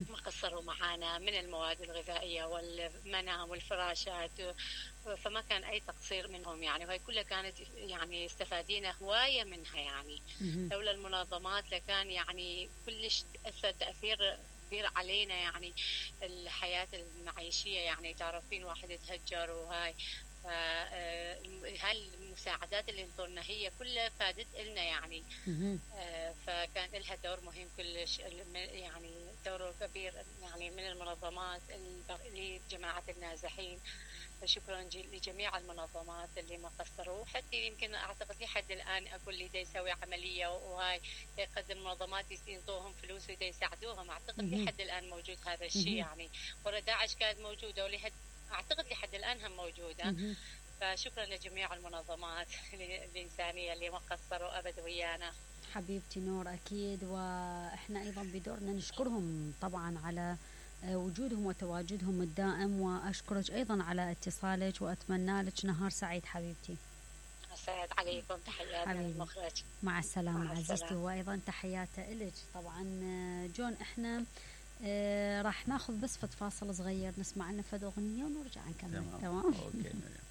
ما قصروا معانا من المواد الغذائية والمنام والفراشات، فما كان أي تقصير منهم يعني، وهي كلها كانت يعني استفادينا هواية منها يعني. مهم. لولا المنظمات لكان يعني كلش أثر تأثير كبير علينا يعني. الحياة المعيشية يعني تعرفين واحد يتهجر وهاي، هاي المساعدات اللي انطونا هي كلها فادت إلنا يعني. مهم. فكان لها دور مهم كلش يعني دور كبير يعني من المنظمات لجماعة النازحين. شكرا لجميع المنظمات اللي ما قصروا، حتى يمكن اعتقد لحد الان اقول لي دا يسوي عمليه وهاي يقدم منظمات ينطوهم فلوس ودا يساعدوهم، اعتقد مهم. لحد الان موجود هذا الشيء مهم. يعني. ورا داعش كانت موجوده اعتقد لحد الان هم موجوده. مهم. فشكرا لجميع المنظمات الانسانيه اللي ما قصروا ابد ويانا. حبيبتي نور أكيد، وإحنا أيضا بدورنا نشكرهم طبعا على وجودهم وتواجدهم الدائم، وأشكرك أيضا على اتصالك وأتمنى لك نهار سعيد حبيبتي. السلام عليكم، تحياتي من حبيبي المخرج. مع السلامة مع عزيزتي، السلامة. وأيضا تحياتي إلك طبعا. جون إحنا راح ناخذ بس فد فاصل صغير نسمع لنا فد أغنية ونرجع نكمل. تمام. تمام. اوكي مريم.